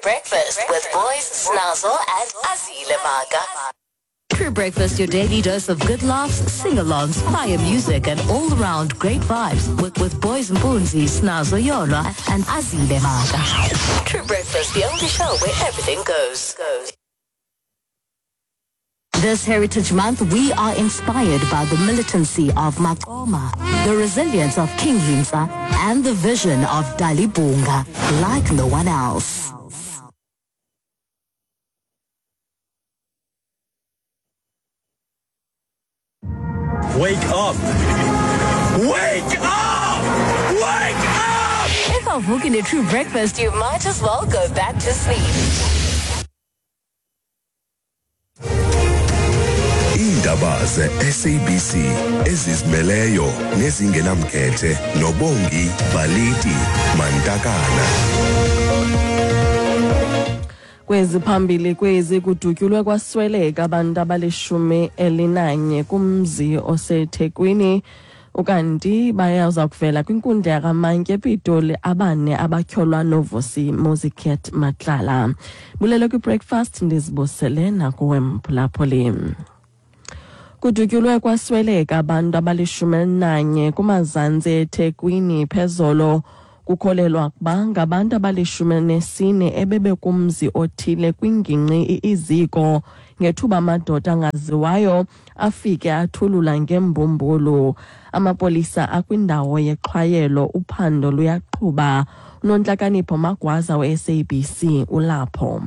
Breakfast with Boys, Snazzle and Azile Maka. True Breakfast, your daily dose of good laughs, sing-alongs, fire music, and all-round great vibes with Boys Mpunzi, Snazo Yola, and Azile Maka. True Breakfast, the only show where everything goes. This Heritage Month, we are inspired by the militancy of Makoma, the resilience of King Hintsa, and the vision of Dalibunga, like no one else. Wake up! Wake up! Wake up! If I'm booking a true breakfast, you might as well go back to sleep. Iindaba ze-SABC ezizimeleyo nezingenamkhethe noBongi Baliti Mantakana. Kwezi phambili kwezi kudutyulwe kwasweleka abantu abalishumi elinanye kumzi oseThekwini, ukanti bayaza kuvela kwinkundla yakamantyi ePitoli abane abatyholwa noVusi Muziket Matlala. Bulele kwi-breakfast, ndizibusele nakuwe mphulaphuli. Kudutyulwe kwasweleka abantu abalishumi elinanye kumazantsi eThekwini phezolo. Kukholelwa ukuba ngabantu abalishumi elinesine ebebekumzi othile kwingingqi iIziko ngethuba amadoda angaziwayo afike athulula ngembumbulu. Amapolisa akwindawo yexhwayelo, uphando luyaqhuba. UNontlakanipho Magwaza we-SABC ulapho.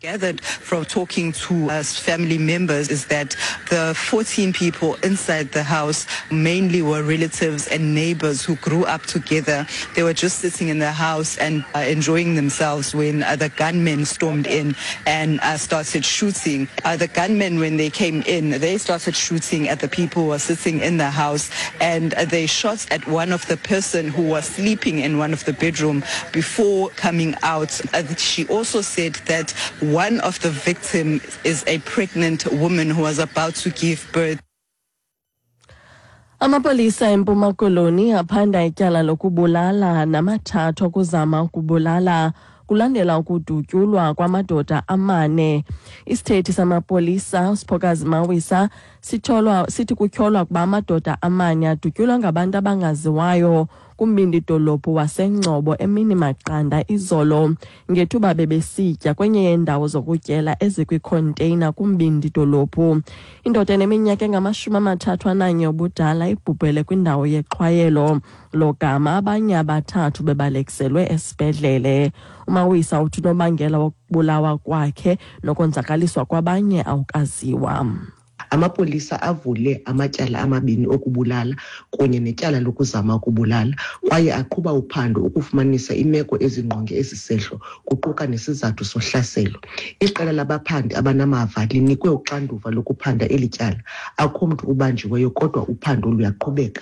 Gathered from talking to us family members is that the 14 people inside the house mainly were relatives and neighbors who grew up together. They were just sitting in the house and enjoying themselves when the gunmen stormed in and started shooting. The gunmen, when they came in, they started shooting at the people who were sitting in the house, and they shot at one of the person who was sleeping in one of the bedroom before coming out. She also said that one of the victims is a pregnant woman who was about to give birth. Amapolisa eMpuma Koloni aphanda ityala lokubulala namathathu okuzama ukubulala kulandela ukudutyulwa kwamadoda amane. Isithethi samapolisa uSiphokazi Mawisa sitholwa sithi kutyholwa ukuba amadoda amane adutyulwa ngabantu abangaziwayo kumbindi dolophu waseNgcobo emini maqanda izolo ngethuba bebesitya kwenye yeendawo zokutyela ezikwikhonteyina kumbindi dolophu. Indoda eneminyaka engama-31 ubudala ibhubhele kwindawo yexhwayelo, logama abanye abathathu bebalekiselwe esibhedlele. UMawisa uthi unobangela wokubulawa kwakhe nokonzakaliswa kwabanye awukaziwa. Amapolisa avule amatyala amabini okubulala kunye netyala lokuzama ukubulala, kwaye aqhuba uphando ukufumanisa imeko ezingqonge esi sehlo, kuquka nesizathu sohlaselo. Iqela labaphandi abanamava linikwe uxanduva lokuphanda eli tyala. Akho mntu ubanjiweyo, kodwa uphando luyaqhubeka.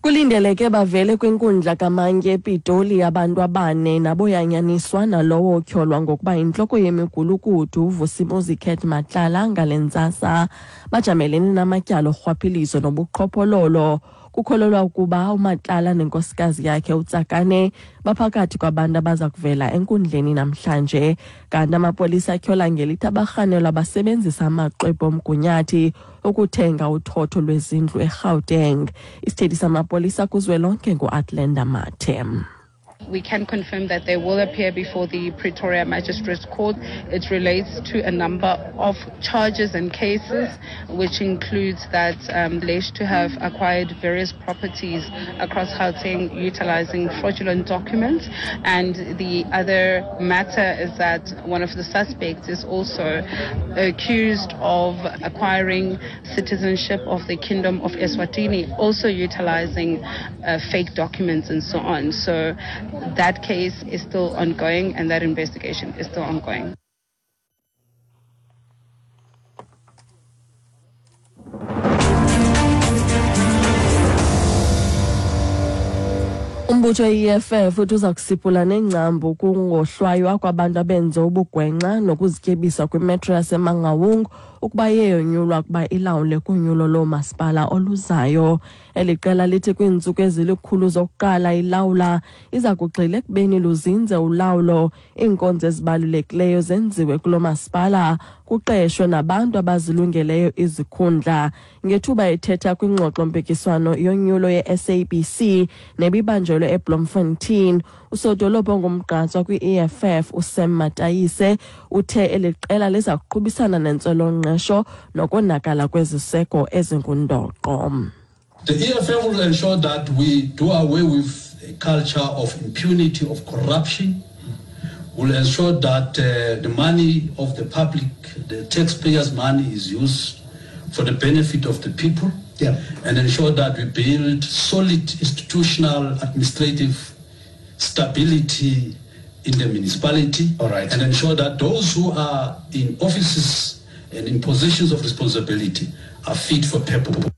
Kulindeleke bavele kwinkundla kamantyi ePitoli abantu abane naboyanyaniswa nalowo otyholwa ngokuba yintloko yemigulukudu uVusimuzi Cat Matlala ngale ntsasa. Bajamelene namatyala orhwaphilizo nobuqhophololo. Kukholelwa ukuba uMatlala nenkosikazi yakhe uTsakane baphakathi kwabantu abaza kuvela enkundleni namhlanje. Kanti amapolisa atyhola ngelithi abarhanelwa basebenzisa amaxwebhu omgunyathi ukuthenga uthotho lwezindlu eGauteng. Isithethi samapolisa kuzwelonke nguAtlenda Mathe. We can confirm that they will appear before the Pretoria Magistrates Court. It relates to a number of charges and cases, which includes that alleged to have acquired various properties across Gauteng utilizing fraudulent documents. And the other matter is that one of the suspects is also accused of acquiring citizenship of the Kingdom of Eswatini, also utilizing fake documents and so on. So that case is still ongoing and that investigation is still ongoing. Umbutho we-EFF uthi uza kusiphula nengcambu kungohlwaywa kwabantu abenze ubugwenxa nokuzityebisa kwimetro yaseMangaung. ukuba iyeyonyulwa ukuba ilawule kunyulo loomasipala oluzayo. Eli qela lithi kwiintsuku ezilikhulu zokuqala ilawula iza kugxila ekubeni luzinze ulawulo, iinkonzo ezibalulekileyo zenziwe kulo masipala, kuqeshwe nabantu abazilungeleyo izikhundla. Ngethuba ethetha kwingxoxo-mpikiswano yonyulo ye-SABC nebibanjelwe eBloemfontein, usodolophu ongumgqatswa kwi-EFF uSam Matayise uthe eli qela liza kuqubisana nentswelongqesho nokonakala kweziseko ezingundoqo. The EFF will ensure that we do away with a culture of impunity, of corruption. Will ensure that the money of the public, the taxpayers' money, is used for the benefit of the people. And ensure that we build solid institutional, administrative stability in the municipality. And ensure that those who are in offices and in positions of responsibility are fit for purpose.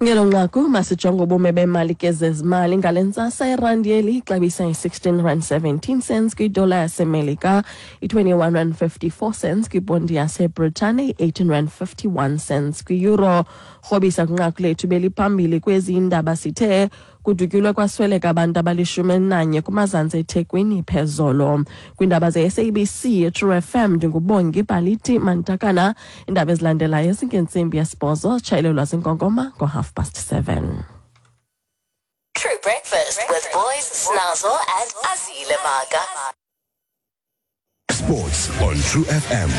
Ngelo nqaku masijonge ubume bemali ke zezimali ngale ntsasa. Irandi yeli ixabisa i-16 rand 17 cents kwidola yaseMelika, i-21 rand 54 cents kwiponti yaseBritane, i-18 rand 51 cents kwi-euro. Rhobisa kwinqaku lethu beliphambili kwezi indaba, sithe kudutyulwe kwasweleka abantu abali-11 kumazantsi eThekwini phezolo. Kwiindaba ze-SABC True FM, ndinguBongi Baliti Mantakana. Iindaba ezilandelayo zingentsimbi yesibhozo, tshayelelwa zinkonkoma ngo-7:30. True Breakfast with Boys, Snazzle and Azile Maga. Sports on True FM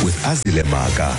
with Azile Maga.